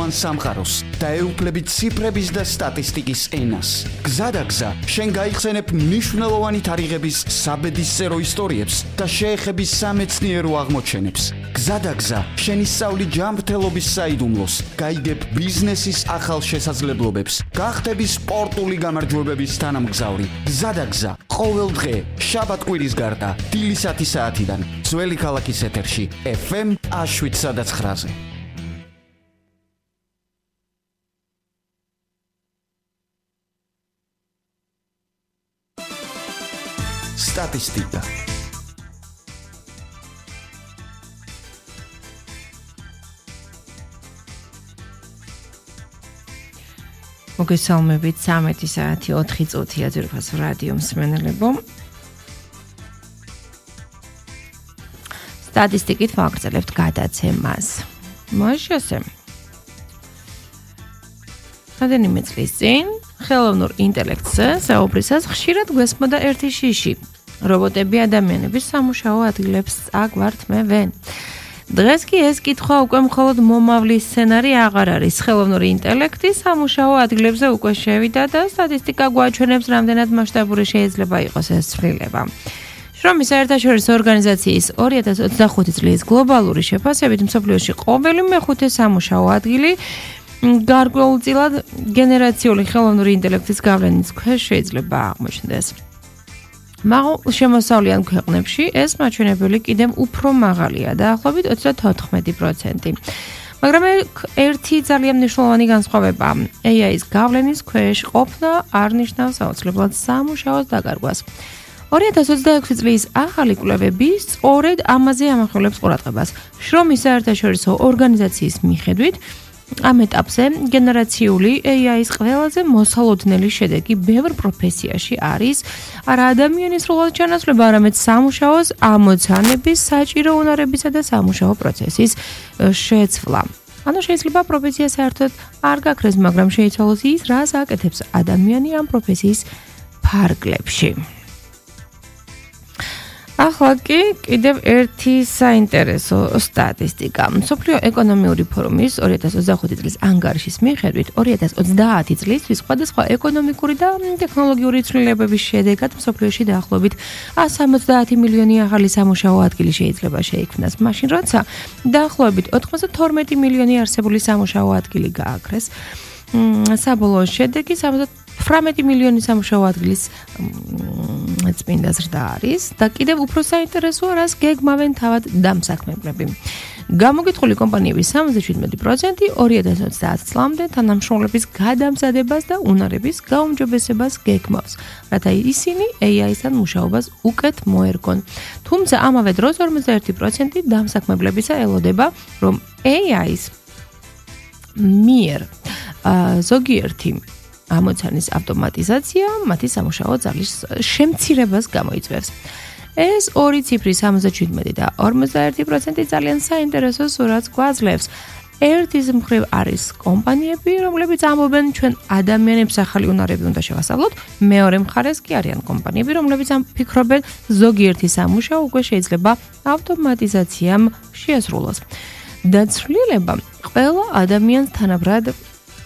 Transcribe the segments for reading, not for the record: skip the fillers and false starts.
მნიშვნელოვან სამყაროს და ეუფლებით ციფრების და სტატისტიკის ენას. გზადაგზა, შენ გაიხსენებ მნიშვნელოვანი თარიღების საბედისწერო ისტორიებს და შეეხების სამეცნიერო აღმოჩენებს. გზადაგზა, შენ ისწავლი ჯანმრთელობის საიდუმლოს, გაიგებ ბიზნესის ახალ შესაძლებლობებს, გახდები სპორტული გამარჯვებების თანამგზავრი. გზადაგზა, ყოველ დღე, შაბათ-კვირის გარდა, დილის 10 საათიდან, ძველი ქალაქის ეთერში, FM 107.9-ზე. სტატისტიკა. მოგესალმებით 13 საათი 4 წუთია ძირფას რადიო მსმენელებო. სტატისტიკით ვაგრძელებთ გადაცემას. მოშესე. რამდენიმე წლის წინ ხელოვნურ ინტელექტზე საუბრისას ხშირად გვესმოდა ერთი შიში. რობოტები ადამიანების სამუშაო ადგილებს წაგვართმევენ. დღეს კი ეს კითხვა უკვე მხოლოდ მომავლის სცენარი აღარ არის. ხელოვნური ინტელექტი სამუშაო ადგილებზე უკვე შევიდა და სტატისტიკა გვაჩვენებს, რამდენად მასშტაბური შეიძლება იყოს ეს ცვლილება. შრომის საერთაშორისო ორგანიზაციის 2025 წლის გლობალური შეფასებით მსოფლიოში ყოველი მეხუთე სამუშაო ადგილი გარკვეულწილად გენერაციული ხელოვნური ინტელექტის გავლენის ქვეშ შეიძლება აღმოჩნდეს. მაგრამ შემოსავლიან ქვეყნებში ეს მაჩვენებელი კიდევ უფრო მაღალია, დაახლოებით 34%. მაგრამ ერთი ძალიან მნიშვნელოვანი განსხვავება, AI-ის გავლენის ქვეშ ყოფნა არ ნიშნავს აუცილებლად სამუშაოს დაკარგვას. 2026 წლის ახალი კვლევები სწორედ ამაზე ამახვილებს ყურადღებას. შრომის საერთაშორისო ორგანიზაციის მიხედვით, ამ ეტაპზე გენერაციული AI-ის ყველაზე მოსალოდნელი შედეგი ბევრ პროფესიაში არის არა ადამიანის სრულად ჩანაცვლება, არამედ სამუშაოს ამოცანების, საჭირო უნარებისა და სამუშაო პროცესის შეცვლა. ანუ შეიძლება პროფესია საერთოდ არ გაქრეს, მაგრამ შეიცვალოს ის, რას აკეთებს ადამიანი ამ პროფესიის ფარგლებში. ახლა კი კიდევ ერთი საინტერესო სტატისტიკა. მსოფლიო ეკონომიური ფორუმის 2025 წლის ანგარიშის მიხედვით 2030 წლისთვის სხვადასხვა ეკონომიკური და ტექნოლოგიური ცვლილებების შედეგად მსოფლიოში დაახლოებით 170 მილიონი ახალი სამუშაო ადგილი შეიძლება შეიქმნას, მაშინ როცა დაახლოებით 92 მილიონი არსებული სამუშაო ადგილი გააქრეს. საბოლოო შედეგი 18 მილიონი სამუშაო ადგილის წმინდა ზრდა არის და კიდევ უფრო საინტერესოა, რას გეგმავენ თავად დამსაქმებლები. გამოგითხრული კომპანიების 77% 2030 წლამდე თანამშრომლების გადამზადებას და უნარების გაუმჯობესებას გეგმავს, რათა ისინი AI-სთან მუშაობას უკეთ მოერგონ. თუმცა ამავე დროს 51% დამსაქმებლებისა ელოდება, რომ AI-ის მიერ ზოგიერთი ამოცანის ავტომატიზაცია მათი სამუშაო ძალის შემცირებას გამოიწვევს. ეს ორი ციფრი 77 და 51% ძალიან საინტერესო სურათს გვაძლევს. ერთის მხრივ არის კომპანიები, რომლებიც ამბობენ, ჩვენ ადამიანებს ახალი უნარები უნდა შევასწავლოთ, მეორე მხარეს კი არიან კომპანიები, რომლებიც ფიქრობენ, ზოგიერთი სამუშაო უკვე შეიძლება ავტომატიზაციამ შეასრულოს. დაცვლილება ყველა ადამიანს თანაბრად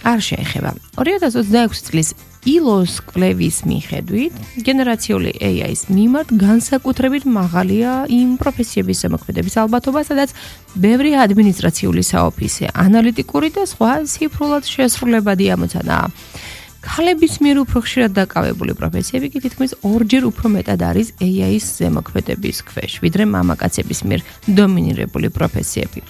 არ შეეხება. 2026 წლის ILO-ს კვლევის მიხედვით, გენერაციული AI-ის მიმართ განსაკუთრებით მაღალია იმ პროფესიების ზემოქმედების ალბათობა, სადაც ბევრი ადმინისტრაციული საოფისე, ანალიტიკური და სხვა ციფრულად შესრულებადი ამოცანაა. ქალების მიერ უფრო ხშირად დაკავებული პროფესიები კი თითქმის ორჯერ უფრო მეტად არის AI-ის ზემოქმედების ქვეშ, ვიდრე მამაკაცების მიერ დომინირებული პროფესიები.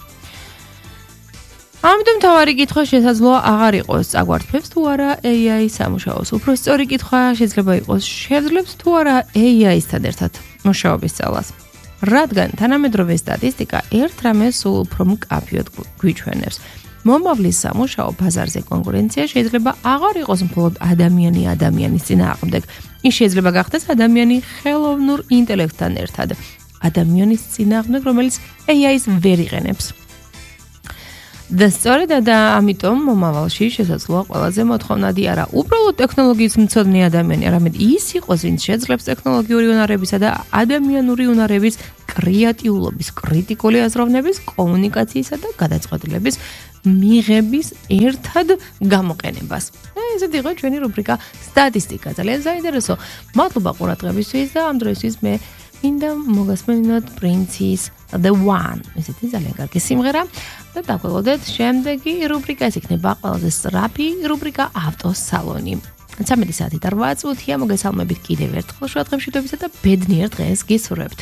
ამიტომ თავარი კითხვა შესაძლოა აღარ იყოს, წაგვართმევს თუ არა AI სამუშაოს. უფრო სწორი კითხვა შეიძლება იყოს, შეძლებს თუ არა AI-სთან ერთად მუშაობის სწავლას. რადგან თანამედროვე სტატისტიკა ერთ რამეს სულ უფრო მკაფიოდ გვიჩვენებს. მომავლის სამუშაო ბაზარზე კონკურენცია შეიძლება აღარ იყოს მხოლოდ ადამიანი ადამიანის წინააღმდეგ. ის შეიძლება გახდეს ადამიანი ხელოვნურ ინტელექტთან ერთად. ადამიანის წინააღმდეგ, რომელიც AI-ს ვერ იყენებს. და სწორედ ამიტომ მომავალში შესაძლოა ყველაზე მოთხოვნადი არა უბრალოდ ტექნოლოგიის მცოდნე ადამიანი, არამედ ის იყოს, ვინც შეძლებს ტექნოლოგიური უნარებისა და ადამიანური უნარების კრეატიულობის, კრიტიკული აზროვნების, კომუნიკაციისა და გადაწყვეტილების მიღების ერთად გამოყენებას. ესეთი იყო ჩვენი რუბრიკა სტატისტიკა. ძალიან საინტერესო. მადლობა ყურადღებისთვის და ამ დროისთვის მე მინდა მოგასმენინოთ პრინცის The One. ესეთი ძალიან კარგი სიმღერა და დაგვეყოდეთ შემდეგი რუბრიკა. ეს იქნება ყველაზე სწრაფი რუბრიკა ავტოსალონი. 13 საათი და 8 წუთია. მოგესალმებით კიდევ ერთხელ შუადღემშვიდობისა და ბედნიერ დღეს გისურვებთ.